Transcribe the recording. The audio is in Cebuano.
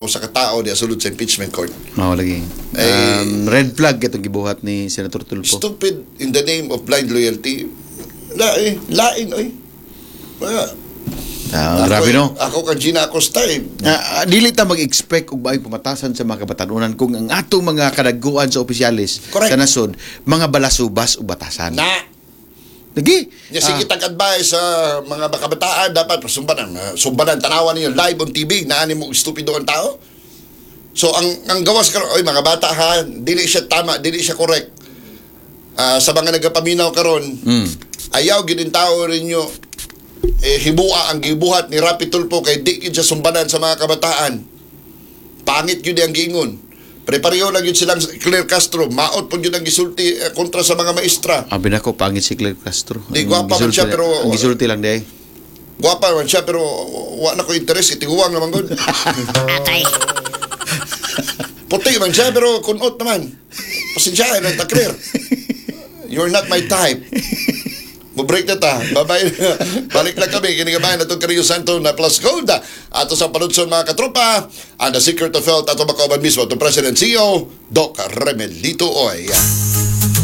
Sa katao diya sulod sa impeachment court. Mao lagi. Eh, Red flag itong gibuhat ni Senator Tulfo. Stupid in the name of blind loyalty. Lain, lain oy. Ah, Ah, grabe, no. Ako kang Gina Acosta eh. Dili ta mag-expect og maayong pamatasan sa mga kabatanunan kung ang atong mga kadaguan sa opisyales Correct. sa nasod mga balasubas o batasan. Na. Lagi. Nya sige tag advice sa mga kabataan, dapat sumbanan, sumbanan, tanawan ninyo live on TV naani mo estupido ang tao. So ang gawas karon, oy mga bata ha, dili siya tama, dili siya correct. Sa mga nagapaminaw karon, ayaw gid tao ninyo eh, hibua ang gibuhat ni Rapi Tulfo kay di gyud siya sumbanan sa mga kabataan. Pangit gyud ang giingon. Prepareho lang yun silang Claire Castro, maot po yun ang gisulti kontra sa mga maestra. Abi nako, pangit si Claire Castro. Di, Ang gwapa man gisulti siya, pero- ang gisulti lang day. Gwapa man siya pero wa na ko interes, itiguang naman gud. Atay. Puti man siya pero kunot naman. Pasensya na ta, Claire. You're not my type. Mo-break na ta. Bye-bye. Balik lang kami. Kinigabayan na itong Carrillo Santo na Plus Gold. Ato sa paludson, mga katropa. Ang The Secret of Health. Ato makauban mismo itong President CEO, Doc Remelito Oy.